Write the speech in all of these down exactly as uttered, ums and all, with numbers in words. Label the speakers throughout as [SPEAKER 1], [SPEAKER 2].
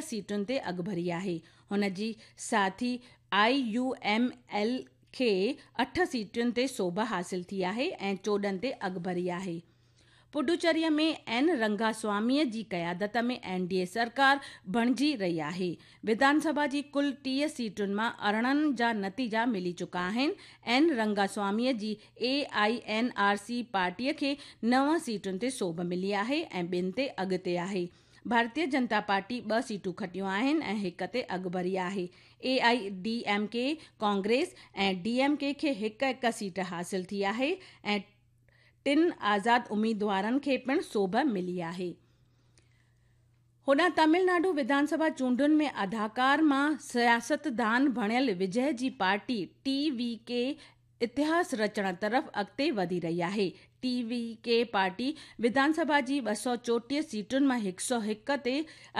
[SPEAKER 1] سيٽن تي اڳڀري آهي. هن جي ساٿي آئي يو ايم ايل کي اٺ سيٽن تي سوڀ حاصل ٿي آهي ۽ چوڏهن تي اڳڀري آهي. پڊوچيري ۾ اين رنگاسوامي جي قيادت ۾ اين ڊي اي سرڪار بڻجي رهي آهي. وڌان سڀا جي ڪل ٽيهه سيٽن مان ارڙهن جا نتيجا ملي چڪا آهن. اين رنگاسوامي جي اي I N R C پارٽيء کي نو سيٽن تي سوڀ ملي آهي ۽ ٻن تي اڳتي آهي. ڀارتيه جنتا پارٽي ٻه سيٽون کٽيون آهن ۽ هڪ تي اڳڀري آهي. اي I D M K, Congress ۽ D M K کي هڪ هڪ سيٽ حاصل ٿي آهي ۽ ٽن آزاد اميدوارن کي پڻ سوڀ ملي آهي. هوڏانهن تامل ناڊو وڌان سڀا چونڊن ۾ اداڪار مان سياستدان بڻيل وجي جي پارٽي ٽي وي ڪي اتهاس رچڻ طرف اڳتي وڌي رهي آهي. ٽي وي ڪي پارٽي وڌان سڀا جي ٻه سؤ چوٽيهه سيٽن مان هڪ سؤ هڪ تي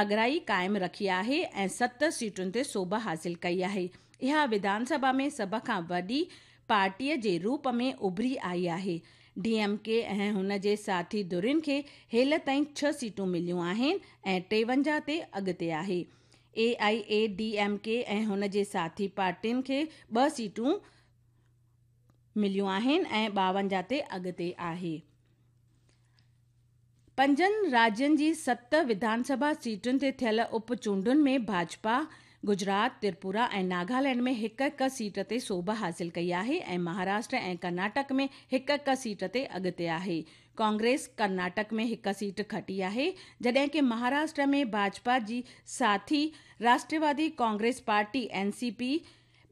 [SPEAKER 1] اڳرائي قائم رکي آهي ۽ ست سيٽن تي سوڀ حاصل ڪئي آهي. اها وڌان سڀا ۾ سڀ کان وڏي پارٽيء جي روپ ۾ اڀري آئي آهي. ڊي ايم ڪي ۽ هن جي ساٿي ڌرين کي هيل تائين ڇهه سيٽون مليون آهن ۽ ٽيونجاهه تي اڳتي آهي. اي I A D M K ۽ هن جي ساٿي پارٽين کي ٻه سيٽون مليون آهن ۽ ٻاونجاهه تي اڳتي آهي. پنجن راجين جي ست وڌان سڀا سيٽن تي ٿيل اپ چونڊن ۾ ڀاجپا گجرات، تريپورا ۽ ناگالينڊ ۾ هڪ هڪ سيٽ تي سوڀ حاصل ڪئي آهي ۽ مهاراشٽر ۽ ڪرناٽڪ ۾ هڪ هڪ سيٽ تي اڳتي آهي. ڪانگريس ڪرناٽڪ ۾ هڪ سيٽ کٽي آهي، جڏهن ڪه مهاراشٽر ۾ ڀاجپا جي ساٿي راشٽروادي ڪانگريس پارٽي اين سي پي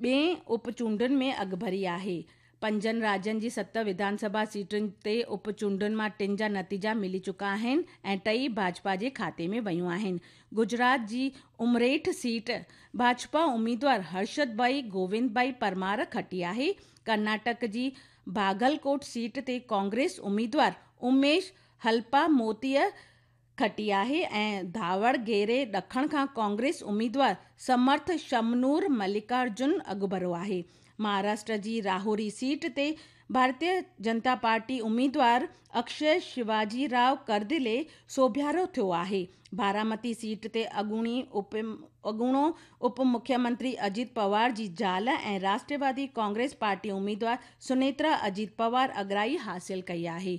[SPEAKER 1] ٻئين اپ چونڊن ۾ اڳڀري آهي. پنجن راجين جي ست وڌان سڀا سيٽن تي اپ چونڊن مان ٽن جا نتيجا ملي چڪا آهن ۽ ٽئي ڀاجپا جي کاتي ۾ ويون آهن. گجرات جي امريٺ سيٽ ڀاجپا اميدوار هرشد ڀائي گووند ڀائي پرمار کٽي آهي. ڪرناٽڪ جي باگلڪوٽ سيٽ تي ڪانگريس اميدوار اميش هلپا موتيء کٽي آهي ۽ ڌاوڻگيري ڏکڻ کان ڪانگريس اميدوار سمرٿ شمنور ملڪارجن اڳڀرو آهي. مهاراشٽر جي راهوري سيٽ تي ڀارتيه جنتا پارٽي اميدوار اڪشي شيواجي رائو ڪردلي سوڀيارو ٿيو آهي. بارامتي سيٽ تي اڳوڻي اپ اڳوڻو اپ مکيه منتري اجيت پوار جي زال ۽ راشٽروادي ڪانگريس پارٽي اميدوار سنيترا اجيت پوار اڳرائي حاصل ڪئي آهي.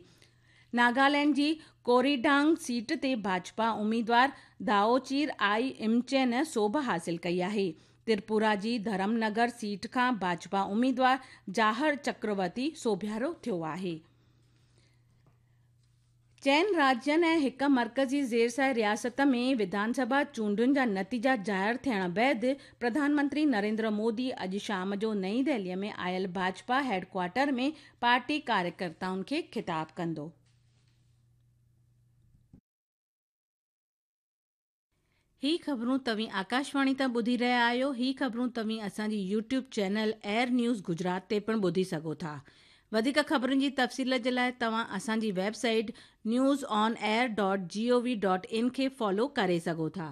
[SPEAKER 1] ناگالينڊ جي ڪوريڊانگ سيٽ تي ڀاجپا اميدوار دائوچير آئي امچين سوڀ حاصل ڪئي آهي. تريپورا جي ڌرم نگر سيٽ کان ڀاجپا اميدوار جاهر چڪرورتي سوڀيارو ٿيو آهي. چئن راجين ۽ هڪ مرڪزي زيرسايه رياست ۾ وڌان سڀا چونڊن جا نتيجا ظاهر ٿيڻ بعد پرڌان منتري نريندر مودي اڄ شام جو نئين دهلي ۾ آيل ڀاجپا هيڊ ڪوارٽر ۾ پارٽي ڪاريڪرتائن کي خطاب ڪندو. هي خبرون توهين آڪاشواڻي تان ٻڌي رهيا آهيو. هي خبرون توهين اسان جي YouTube channel air news Gujarat تي پڻ ٻڌي سگهو ٿا. وڌيڪ خبرن جي تفصيل جي لاءِ توهان اسان جي web site news on air dot G O V dot in کي فالو ڪري سگهو ٿا.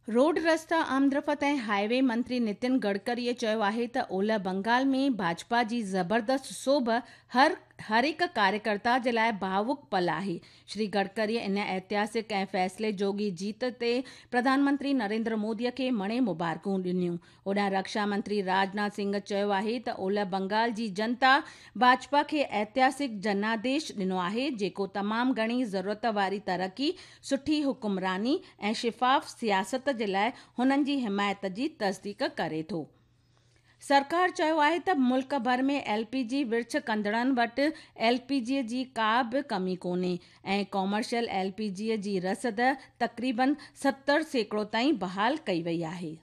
[SPEAKER 1] روڊ رستا آمدرفت ۽ هاءِ وي منتري نتن گڊڪريءَ چيو آهي ته اولهه بنگال ۾ ڀاجپا جي زبردست سوڀ هر هر هڪ ڪاريڪرتا جي لاءِ ڀاوڪ پل آهي. شري گڊڪريءَ ان اتهاسڪ ۽ فيصلي جوڳي جيت تي پرڌان منتري نريندر موديءَ کي مڻي مبارڪون ڏنيون. هوڏانهن رڪشا منتري راجناٿ سنگهه چيو آهي ته اولهه بنگال جي جنتا ڀاجپا کي اتهاسڪ جناديش ڏنو آهي، جيڪو تمام گهڻي ضرورت واري ترقي، سٺي حڪمراني ۽ شفاف سياست جي لاءِ هنن جي حمايت جي تصديق ڪري ٿو. سرڪار چيو آهي ته ملڪ ڀر ۾ ايل پي جي ورڇ ڪندڙن وٽ ايل پي جي جي ڪا به ڪمي ڪونهي ۽ ڪامرشل ايل پي جي جي رسد تقريبن ستر سيڪڙو تائين بحال ڪئي وئي آهي.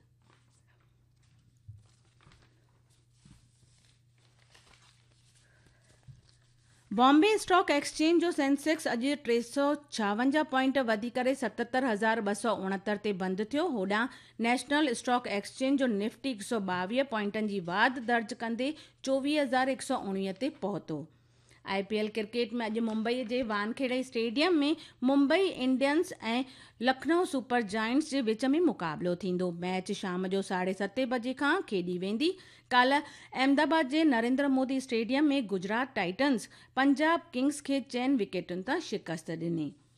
[SPEAKER 1] بامبي اسٽاڪ ايڪسچينج جو سينسيڪس اڄ ٽي سؤ ڇاونجاهه پوائنٽ وڌي ڪري ستهتر هزار ٻه سؤ اڻهتر تي بند ٿيو. هوڏانهن نيشنل اسٽاڪ ايڪسچينج جو نفٽي هڪ سؤ ٻاويهه پوائنٽن جي واڌ درج ڪندي چوويهه هزار هڪ سؤ اڻويهه تي پهتو. آئي پي ايل ڪرڪيٽ ۾ اڄ ممبئي جي Wankhede stadium ۾ Mumbai Indians ۽ Lucknow super Giants جي وچ ۾ مقابلو ٿيندو. ميچ شام جو ساڍي ستين بجي کان کيڏي ويندي. ڪالهه احمدآباد جي Narendra Modi stadium ۾ Gujarat Titans Punjab Kings کي چئن وڪيٽن تان شڪست ڏني.